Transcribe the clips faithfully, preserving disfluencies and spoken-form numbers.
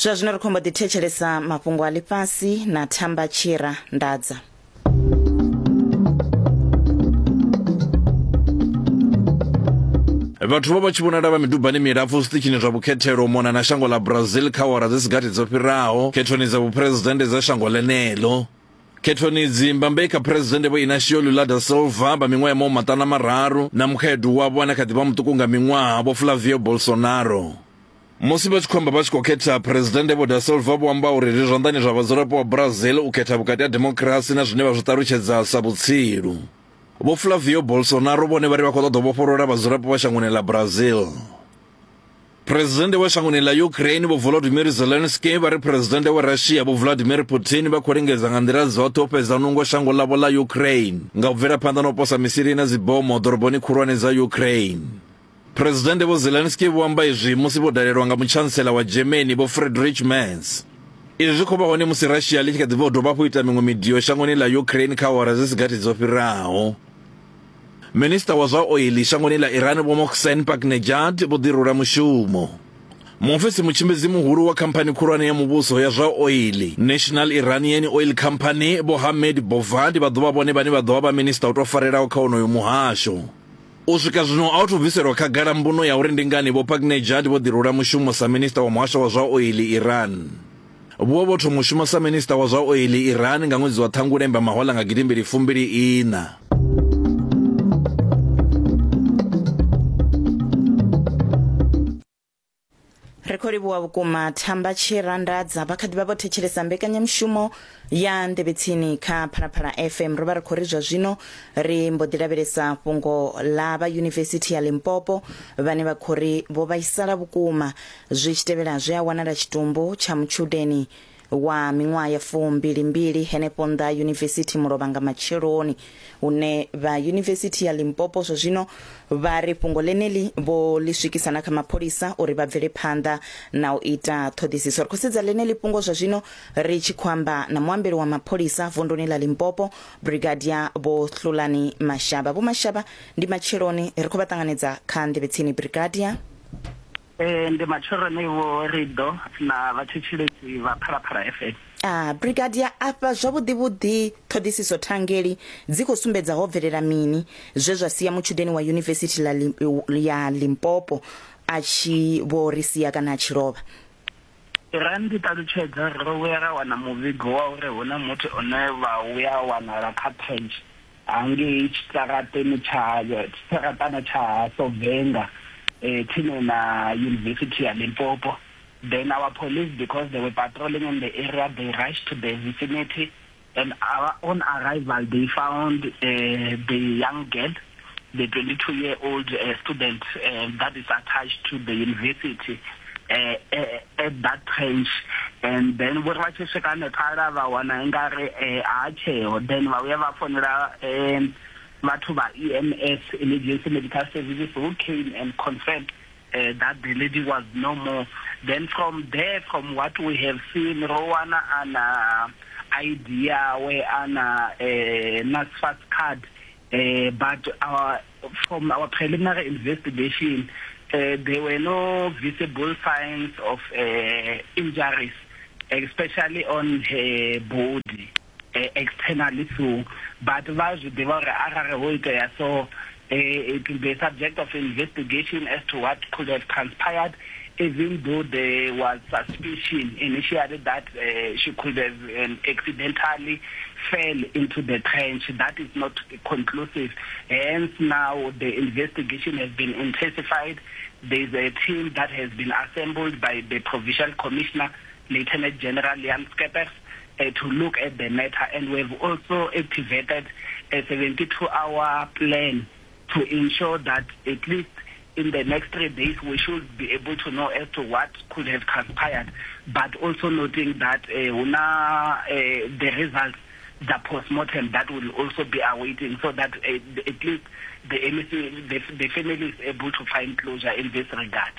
Zwa zwino ri khou mbo ḓi thetshelesa mafhungo a ḽifhasi na Thamba Tshira Ndadza. Vhathu vho vha tshi vhonala vha midubani milapfu zwiṱitshini zwa vhukhethelo u mona na shango ḽa Brazil kha awara dzi si gathi dzo fhiraho khethoni dza vhuphuresidennde dza shango ḽeneḽo. Khethoni idzi mbambe kha phuresidennde Vho Inacio Lula da Silva vha miṅwaha ya mahumimaṱanu na mararu na mukhaedu wavho ane a kha ḓi vha muṱuku nga miṅwaha Vho Flavio Bolsonaro. Musi vha tshi khou amba vha tshi khou khetha phuresidennde Vho da Silva vho amba uri zwi zwanḓani zwa vhadzulapo vha Brazil u khetha vhukati ha demokirasi na zwine vha zwi ṱalutshedza sa vhutsilu. Vho Flavio Bolsonaro vhone vha ri vha khou ṱoḓa u vhofholola vhadzulapo vha shangoni ḽa Brazil. Phuresidennde wa shangoni ḽa Ukraine Vho Volodymyr Zelensky vha ri phuresidennde wa Russia Vho Vladimir Putin vha khou lingedza nga nḓila dzoṱhe u fhedza nungo shango ḽavho ḽa Ukraine nga u bvela phanḓa na u posa misili na dzibomo ḓoroboni khulwane dza Ukraine. Phuresidennde Vho Zelensky vho amba izwi musi vho dalelwa nga mutshantsela wa Germany Vho Friedrich Merz. Izwi zwi khou vha hone musi Russia ḽi tshi kha ḓi bva u dovha hafhu u ita miṅwe midio shangoni ḽa Ukraine kha awara dzi si gathi dzo fhiraho. Minista wa zwa oili shangoni ḽa Iran Vho Mohsen Paknejad vho ḓirula mushumo. Muofisi mutshimbidzi muhulu wa khamphani khulwane ya muvhuso ya zwa oili National Iranian Oil Company Vho Hamed Bovad vha ḓo vha vhone vhane vha ḓo vha vha minista u tou farelaho kha onoyo muhasho. U swika zwino a hu thu bviselwa khagala mbuno ya uri ndi ngani Vho Paknejad vho ḓirula mushumo sa minista wa muhasho wa zwa oili Iran. Vho vho thoma u shuma sa minista wa zwa oili Iran nga ṅwedzi wa Ṱhangule Mbamahola nga gidimbili fumbili ina. Ri khou livhuwa vhukuma Thamba Tshira Ndadza. Vha kha ḓi vha vho thetshelesa mbekanyamushumo ya Nḓevhe Tsini kha Phalaphala F M. Ro vha ri khou ri zwa zwino ri mbo ḓi lavhelesa fhungo ḽa vha Yunivesithi ya Limpopo vhane vha khou ri vho vhaisala vhukuma zwi tshi tevhela zwe a wanala tshitumbu tsha mutshudeni wa miṅwaha ya fumbilimbili henefho nnḓa yunivesithi mulovha nga matsheloni, hune vha Yunivesithi ya Limpopo zwa zwino vha ri fhungo ḽeneḽi vho ḽi swikisa na kha mapholisa uri vha bvele phanḓa na u ita ṱhoḓisiso. Ri khou sedza ḽeneḽi fhungo zwa zwino ri tshi khou amba na muambeli wa mapholisa vunduni ḽa Limpopo, Brigadier Vho Hlulani Mashaba. Vho Mashaba, ndi matsheloni, ri khou vha ṱanganedza kha Nḓevhe Tsini. Brigadier. Eh, ndi matsheloni Vho Rido na vhathetshelesi vha Phalaphala F M. Ah, Brigadier, afha zwavhuḓi vhuḓi ṱhoḓisiso thangeli dzi khou sumbedza ho bvelela mini zwe zwa sia mutshudeni wa Yunivesithi la ya Limpopo a tshi vho ri sia kana a tshi lovha? Ra ndi ṱalutshedza ro vhuya ra wana muvhigo wa uri hu na muthu one vha vhuya wanala kha trench hangei tshiṱarateni tsha tshiṱaratana tsha Sovenga eh, tsini na University ya Limpopo. Then our police, because they were patrolling in the area, they rushed to the vicinity, and our, on arrival they found uh, the young girl, the twenty-two-year-old uh, student uh, that is attached to the university uh, uh, at that trench. And then vho ri vha tshi swika hanefhaḽa vha wana ingari a tsheo, then vha vhuya vha founela vhathu vha E M S, Emergency Medical Services, who came and confirmed uh, that the lady was no more. Then from there, from what we have seen, Rowana ana I D yawe ana uh, NSFAS card, uh, but our, from our preliminary investigation, uh, there were no visible signs of uh, injuries, especially on her body, uh, externally so. But va zwi ḓivha uri arali ho itea so, uh, it will be a subject of investigation as to what could have transpired, even though there was suspicion initially that uh, she could have um, accidentally fell into the trench. That is not conclusive. Hence, now the investigation has been intensified. There is a team that has been assembled by the Provincial Commissioner, Lieutenant General Jan Skeppers, uh, to look at the matter. And we have also activated a seventy-two hour plan to ensure that at least in the next three days we should be able to know as to what could have transpired, but also noting that uh, uh, the results, the post-mortem, that will also be awaiting, so that uh, at least the, M C, the, the family is able to find closure in this regard.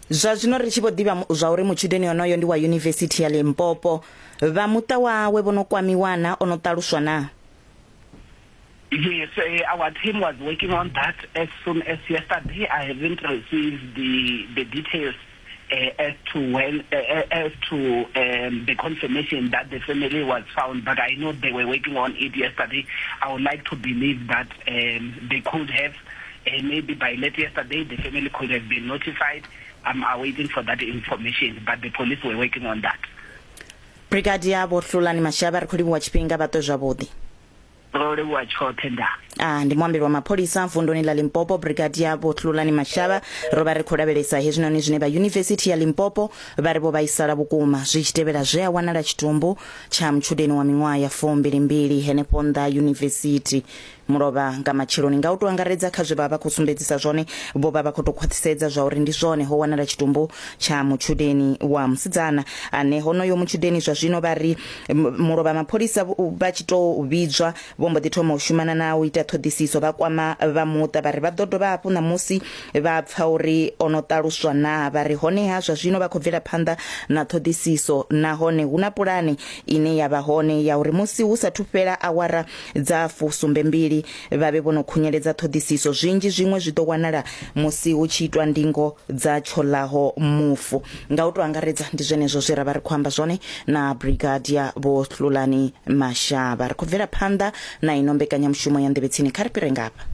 Zwa zwino ri tshi vho ḓivha zwa uri mutshudeni onoyo ndi wa Yunivesithi ya Limpopo, vha muṱa wawe vho no kwamiwa na ono ṱaluswa na? Yes, uh, our team was working on that as soon as yesterday. I haven't received the, the details uh, as to when, uh, as to um, the confirmation that the family was found, but I know they were working on it yesterday. I would like to believe that um, they could have, uh, maybe by late yesterday, the family could have been notified. I'm awaiting for that information, but the police were working on that. Brigadier Vho Hlulani Mashaba, ri khou livhuwa tshifhinga, vha ṱwe zwavhuḓi. Ro livhuwa tshoṱhe, nda. Ah, ndi muambeli wa mapholisa vunduni ḽa Limpopo, Brigadier Vho Hlulani Mashaba. Ro vha ri khou lavhelesa hezwinoni zwine vha Yunivesithi ya Limpopo vha ri vho vhaisala vhukuma zwi tshi tevhela zwe a wanala tshitumbu tsha mutshudeni wa miṅwaha ya fumbilimbili henefho nnḓa yunivesithi mulovha nga matsheloni. Nga u tou angaredza kha zwe vha vha khou sumbedzisa zwone, vho vha vha khou tou khwaṱhisedza zwa uri ndi zwone ho wanala tshitumbu tsha mutshudeni wa musidzana ane honoyo mutshudeni zwa zwino vha ri mulovha mapholisa vha tshi tou vhidzwa vho mbo ḓi thoma u shumana na u ita ṱhoḓisiso, vha kwama vha muṱa vha ri vha ḓo dovha hafhu ṋamusi vha pfa uri ono ṱaluswa na vha ri honeha zwa zwino vha khou bvela phanḓa na ṱhoḓisiso, nahone hu na pulane ine ya vha hone ya uri musi hu sathu fhela awara dza fusumbembili vha vhe vho no khunyeledza ṱhoḓisiso. Zwinzhi zwiṅwe zwi ḓo wanala musi hu tshi itwa ndingo dza tsholaho mufu. Nga u tou angaredza ndi zwenezwo zwe ra vha ri khou amba zwone na Brigadier Vho Hlulani Mashaba. Ri khou bvela phanḓa na ino mbekanyamushumo ya Nḓevhe Tsini, kha ri fhire ngafha.